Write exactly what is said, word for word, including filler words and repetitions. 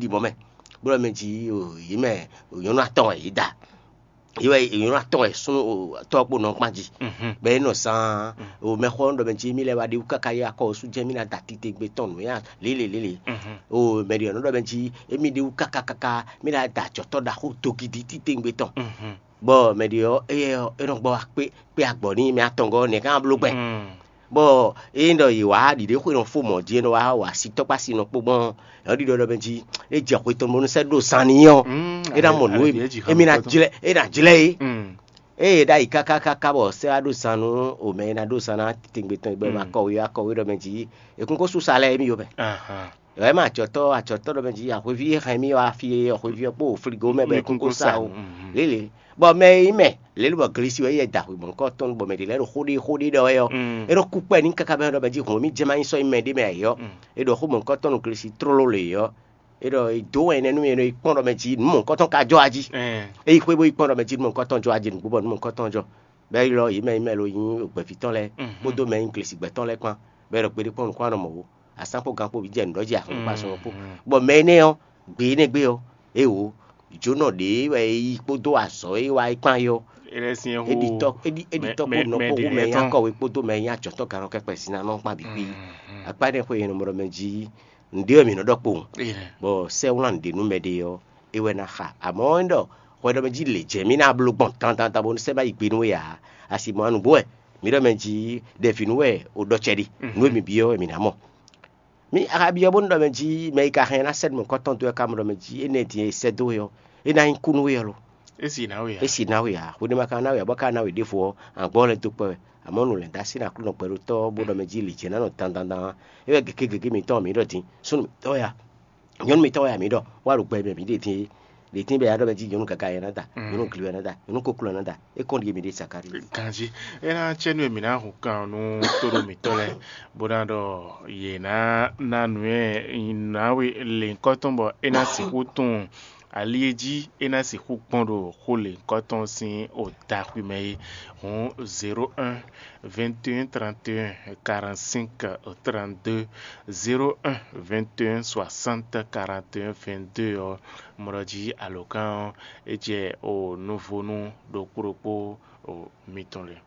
ɖi mɔ̌ mɛ, bó ɖɔ mɛ jí yě mɛ nyɔ̌nu atɔn wɛ yě da, yě wɛ nyɔ̌nu atɔn wɛ súnnu tɔ́ kpó nɔ kpán jí. Bɔ é nɔ zán o mɛxɔ ɖɔ mɛ jí mí lɛ́ wá ɖi wú káká yá kɔ sú jɛ́n mí ná da titewungbe tɔn nǔ yá lélelélé. O mɛ ɖě ɔ́ nɔ ɖɔ mɛ jí émí ɖi wú káká káká mí ná da ajɔ̌tɔ́ ɖaxó togidi titewungbe tɔn. Bɔ mɛ ɖě ɔ́ éyɛ́ ɔ́ é nɔ gbɔ wá kpé kpé agbɔ̌ n'i mɛ atɔngɔ́ nɛ̌ ká bló gbɛn. Bɔ ényí ɖɔ yě wá ɖiɖéxwé nɔ fó mɔ̌ jí é nɔ wá wa asitɔ́ kpó asi nɔ kpó gbɔn ɔ́, é nɔ ɖiɖɔ ɖɔ mɛ jí é jɛ xwe tɔn bónú sɛ́ ɖó zan n'i ɔ́, é ná mɔ nǔ émí ná jlɛ́ é ná jlɛ́ é. Ée é ɖ'ayǐ káká káká bɔ sɛ́ wá ɖó zan nú omɛ e ná ɖó zan ná titewungbe tɔn bɔ é ma kɔ wé wá kɔ wé ɖɔ mɛ jí è kún kó sú sa lɛ́ɛ émí yó mɛ. Wɛ ma acɔtɔ́ acɔtɔ́ ɖɔ mɛ jí ahweví e hɛn mì wá fí é, ahweví ɔ́ kpó fligo mɛ bɔ é kún kó sa o. Lélẹ̀ bɔ mɛ e nyí mɛ lě bɔ glesi wɛ é yɛ da xwe mɔ̌hunkɔtɔn bɔ mɛ ɖě lɛ́ɛ ɖo xó ɖé xó ɖé ɖɔ wɛ ɔ́, é ɖo kú kpɛ n'i káká bɛ́ ɖɔ mɛ jí hǔn mì jɛ ma nyí sɔ́ nyí mɛ ɖé mɛ ǎ é ɔ́, é ɖɔ xó mɔ̌hunkɔtɔn nú glesi tlóló lě ɔ́, é ɖɔ é dó wɛn énɛ́ nú mì é nɔ yi kpɔ́n ɖɔ mɛ jí nǔ mɔ̌hunkɔtɔn ka jɔ wá jí. É yi xwé bó yi kpɔ́n ɖɔ mɛ jí nǔ mɔ̌hunkɔtɔn jɔ wá jí nǔgbó bɔ nǔ mɔ̌hunkɔtɔn jɔ. Bɔ é ylɔ́ yě mɛ nyí mɛ lo nyí gbɛ̌ví tɔn lɛ́ɛ kpódó mɛ nyí glesigbɛ tɔn lɛ́ɛ kpán, bɔ é ɖɔ kpeɖé kpɔ́n nukún anɔ mɔ̌ ó. Asán kpó gan kpó vǐ jɛ nǔ ɖɔ jí axɔ́ kpó asɔ́ kpó. Bɔ mɛ énɛ́ ɔ́, gbe énɛ́ gbe ɔ́, é wǒ, jǒnɔ ɖě wɛ é yí kpódó azɔ̌ e wá é kpán é ɔ́, é ɖi tɔ́ é ɖi é ɖi tɔ́ kpó nɔ kpó hú mɛ nyí akɔwe kpódó mɛ nyí ajɔ̌tɔ́ gannɔkɛ́kpɛ sinanɔ kpán bǐ kpí. Akpá énɛ́ xwe nyɛ nɔ mɔ ɖɔ mɛ jí nǔɖé wɛ mǐ nɔ ɖɔ kpowun. Bɔ sɛ́ wlán nǔɖé nú mɛɖé ɔ́, é wɛ ná xa. Amɔ̌ é ɖɔ hwɛ ɖɔ mɛ jí lě jɛ mì ná bló gbɔn dandandan bónú sɛ́ ná yi gbe nú we ǎ. Asi mɔ anǔgbó wɛ mǐ ɖɔ mɛ jí ɖɛvǐ nú wɛ o ɖɔ cɛ ɖi. Nǔ e mǐ byɔ́ wɛ mǐ ná mɔ. Mì a ka byɔ́ bónú ɖɔ mɛ jí mɛ e ka hɛn ná sɛ́ nǔ mɔ̌hunkɔtɔn dó wɛ ka mɔ ɖɔ mɛ jí énɛ́ din e sɛ́ dó we ɔ́, é ná nyí kú nú we ɔ́ lo? É si ná we ǎ. É si ná we ǎ. Hweɖé ma ka ná we ǎ bɔ ka ná we ɖěvo ɔ́, àgbɔ́ lɛ́ dó kpɛ́ wɛ. Amɔ̌ nǔ lɛ̌ndási ná Aklúnɔ gbɛɖótɔ́ bó ɖɔ mɛ jí lǐ jɛ ná nɔ dandandan ɔ́, é wɛ gěgé gěgé mǐtɔn mǐ ɖɔ din. Súnnu mǐtɔn wɛ a? Nyɔ̌nu mǐtɔn wɛ a mǐ ɖɔ wá ɖo gbɛ mɛ mǐ ɖe din é? Ɖě tín bɛ a ɖɔ mɛ jí nyɔ̌nu gaga yɛ ná da, nyɔ̌nu gliwɛ ná da, nyɔ̌nu kokló ná da. É kɔn ɖi mǐ ɖe Zakalíi. Ganjí é ná cɛ nú mǐ ná hun kan nú tóɖó mǐtɔn lɛ́ɛ, bó ná ɖɔ yě ná ná nǔ e nǎwe lěhunkɔtɔn bɔ é ná sixú tunwun ali e jí é ná sixú kpɔ́n ɖo xó lěhunkɔtɔn sín odaxwi mɛ é. Hǔn zéro un, vingt et un, trente et un, quarante-cinq, trente-deux, zéro un, vingt et un, soixante, quarante et un, vingt-deux ɔ́, mɔ ɖɔ jí alǒkan ɔ́, é jɛ o nuvónú ɖokpó ɖokpó o mitɔn lɛ́ɛ.